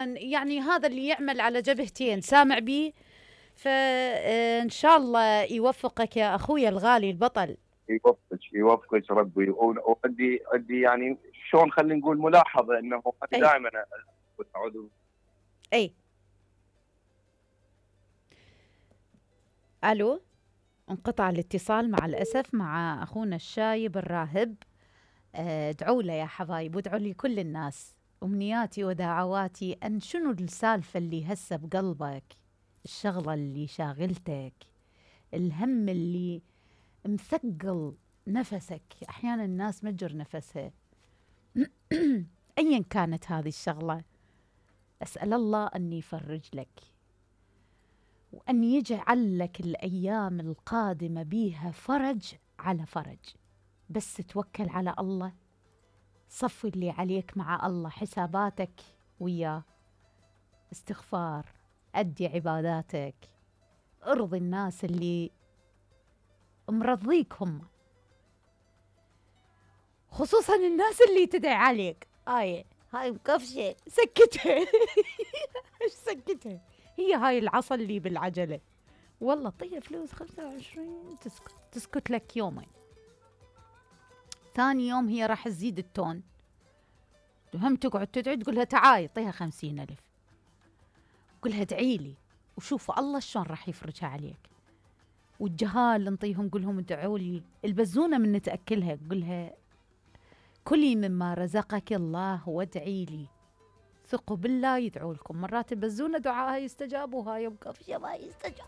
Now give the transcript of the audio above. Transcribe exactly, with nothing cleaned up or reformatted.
يعني هذا اللي يعمل على جبهتين سامع بيه، فإن شاء الله يوفقك يا أخوي الغالي البطل. يوفقك يوفقك ربي. وعندي عندي يعني شلون خلينا نقول ملاحظة انه انا دائما اعود. اي الو، انقطع الاتصال مع الاسف مع اخونا الشايب الراهب. ادعوا له يا حبايب، وادعوا لي كل الناس. امنياتي ودعواتي ان شنو السالفه اللي هسه بقلبك، الشغله اللي شاغلتك، الهم اللي مثقل نفسك. احيانا الناس مجر نفسها ايا كانت هذه الشغله، اسال الله ان يفرج لك، وان يجعل لك الايام القادمه بيها فرج على فرج. بس توكل على الله، صفي اللي عليك مع الله، حساباتك وياه، استغفار، أدي عباداتك، ارضي الناس اللي مرضيك هم، خصوصا الناس اللي تدعي عليك. هاي هاي مكفشة، سكتها ايش سكتها؟ هي هاي العصا اللي بالعجلة، والله طيها فلوس خمسة وعشرين تسكت تسكت لك يومين، ثاني يوم هي راح تزيد التون، هم تقعد تدعي تقولها تعاي طيها خمسين ألف، قولها ادعي لي وشوف الله شلون راح يفرجها عليك. والجهال نطيهم قولهم ادعوا لي، البزونة من نتأكلها قولها كلي مما رزقك الله وادعي لي، ثقوا بالله يدعوا لكم. مرات البزونة دعاها يستجاب وهاي مكفشة ما يستجاب.